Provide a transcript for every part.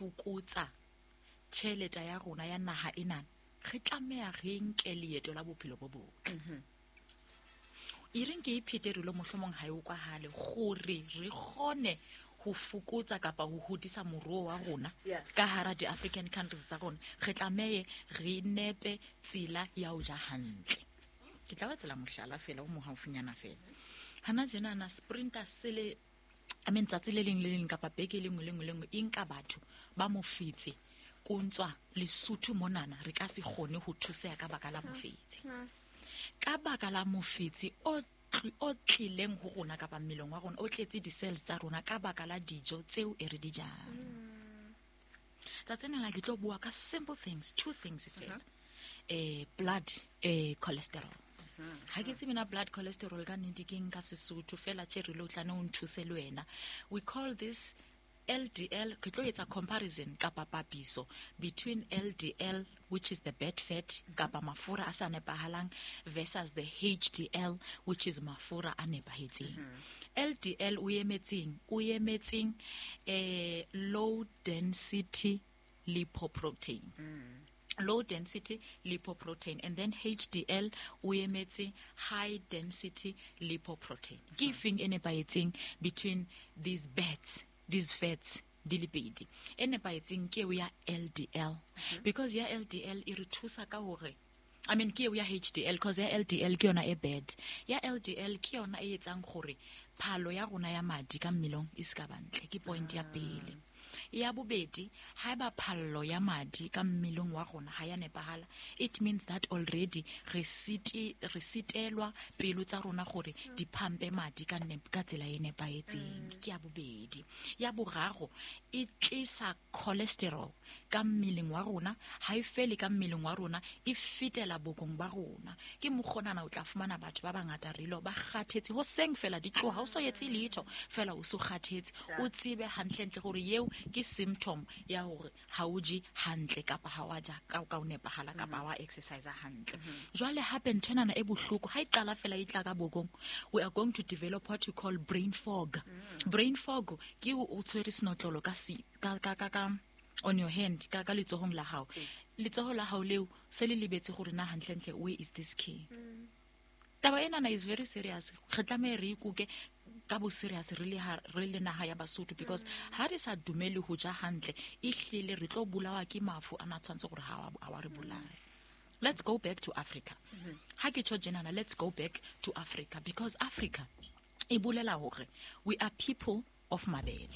fokotsa tjhelete ya rona ya naha enana, re tlameha re nke leeto la bophelo bo botle. E reng ke iphete re lo mohlomong ha e utlwahale gore re kgone ho fokotsa kapa ho hodisa moruo wa rona ka hara di-African countries tsa rona, re tlamehe re nepe tsela ya ho ja hantle. Ke tla ba tsela mohlala fela o mo haufinyana fela. Hana tjenana sprinter sele, I mean, tsatsi le leng le leng kapa beke e le nngwe le nngwe le nngwe e nka batho ba mofetse kontswa Lesotho monana, re ka se kgone ho thuseha ka baka la mofetse, ka baka la mofetse o tlileng ho rona kapa mmeleng wa rona, o tletse di-cells tsa rona ka baka la dijo tseo e re di jang. Tsatsing la ke tlo bua ka simple things, two things fela. Blood cholesterol, ha ke tsebe na blood cholesterol ka nnete ke eng ka Sesotho fela. Tje re lo tlane o nthuse le wena. We call this LDL. Ke tlo etsa comparison kapa papiso between LDL, which is the bad fat kapa mafura a sa nepahalang, versus the HDL, which is mafura a nepahetseng. LDL o emetseng? O emetseng low density lipoprotein, low density lipoprotein, and then HDL o emetse high density lipoprotein. Ke efeng e nepahetseng between these bats, these fats di le pedi? E nepahetseng ke eo ya LDL, because ya LDL e re thusa ka hore, I mean, ke eo ya HDL, cause ya LDL ke yona e bad. Ya LDL ke yona e etsang gore phalo ya rona ya madi ka mmelong e se ka bantle. Ke point ya pele. Ya bobedi, haeba phallo ya madi ka mmeleng wa rona ha ya nepahala, it means that already re sitelwa pelo tsa rona gore di pumpe madi ka tsela e nepahetseng. Ke ya bobedi. Ya boraro, e tlisa cholesterol ka mmeleng wa rona. Ha e fele ka mmeleng wa rona, e fetela bokong ba rona. Ke mokgonana o tla fumana batho ba bangata relo ba kgathetse hoseng fela, di tloha o so etse letho fela, o so kgathetse. O tsebe hantlentle gore eo ke symptom ya hore ha o je hantle kapa ha wa ja ka o nepahala kapa ha wa exercise hantle. Jwale hape ntho enana e bohloko, ha e qala fela e tla ka bokong, we are going to develop what we call brain fog. Brain fog ke o tshwere senotlolo ka si ka ka ka, ka on your hand, ka letsohong la hao. Letsoho la hao leo se le lebetse gore na hantlentle where is this key. Taba enana is very serious. Re tlameha re ikuke ka bo serious re le naha ya Basotho, because ha re sa dumele ho ja hantle, ehlile re tlo bolawa ke mafu a na tshwanetse gore ha wa re bolaya. Let's go back to Africa. Ha ke tjho tjenana, let's go back to Africa, because Africa e bolela hore we are people of mabele.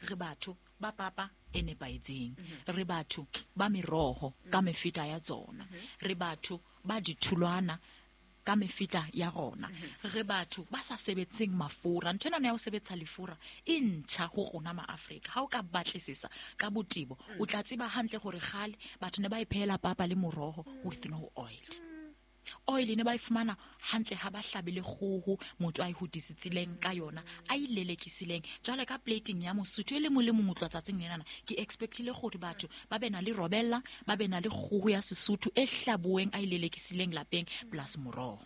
Re batho ba papa e nepahetseng, re batho ba meroho ka mefeta ya tsona, re batho ba ditholwana ka mefeta ya rona, re batho ba sa sebetseng mafura. Ntho ena ya ho sebetsa lefura e ntjha ho rona ma-Afrika. Ha o ka batlisisa ka botebo, o tla tseba hantle gore kgale batho ne ba iphehela papa le moroho with no oil. Oil ne ba e fumana hantle ha ba hlabile kgoho, motho a e hodisitsileng ka yona, a e lelekisileng. Jwale ka plating ya Mosotho e le mong le mong o tloha tsatsing lenana, ke expectile gore batho ba be na le robella, ba be na le kgoho ya Sesotho e hlabuweng, a e lelekisileng lapeng, plus moroho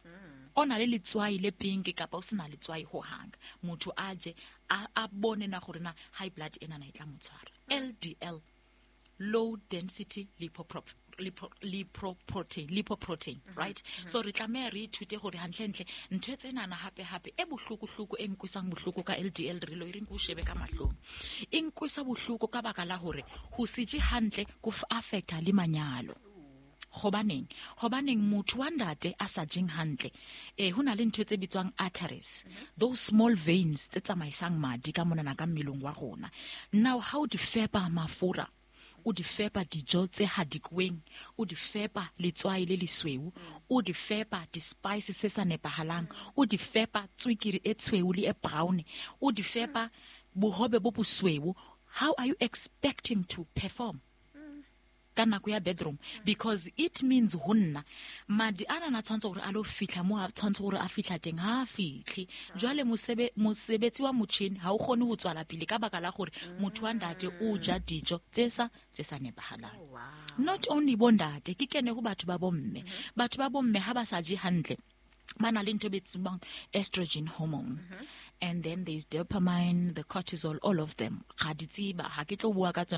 o na le letswai le pink kapa o sena letswai hohang. Motho a je, a bone na gore na high blood enana e tla mo tshwara. LDL, low density lipoprotein, right? So re tlameha re ithute gore hantlentle ntho e tsenana hape hape e bohloko-hloko, e nkwisang bohloko ka LDL re lo e reng ke o shebe ka mahlong, e nkwisa bohloko ka baka la hore ho se je hantle go affecta le manyalo. Hobaneng motho wa ntate a sa jeng hantle, ho na le ntho tse bitswang arteries, those small veins tse tsamaisang madi ka monana ka mmeleng wa rona. Now ha o di fepa mafura, o di fepa dijo tse hadikweng, o di fepa letswai le lesweu, o di fepa di-spices se sa nepahalang, o di fepa tswekere e tshweu le e brown, o di fepa bohobe bo bosweu, how are you expecting to perform ka nako ya bedroom? Because it means ho nna madi a nana tshwanetse gore a lo fitlha mo a tshwanetse gore a fitlha teng, ha a fitlhe. Jwale mosebetsi wa motšhini ha o kgone ho tswala pele ka baka la gore motho wa ntate o ja dijo tse sa nepahalang. Not only bo ntate, ke kene ho batho ba bomme. Batho ba bomme ha ba sa je hantle, ba na le ntho e bitswang estrogen hormone, and then there's dopamine, the cortisol, all of them ga di tseba, ha ke tlo bua ka tsona.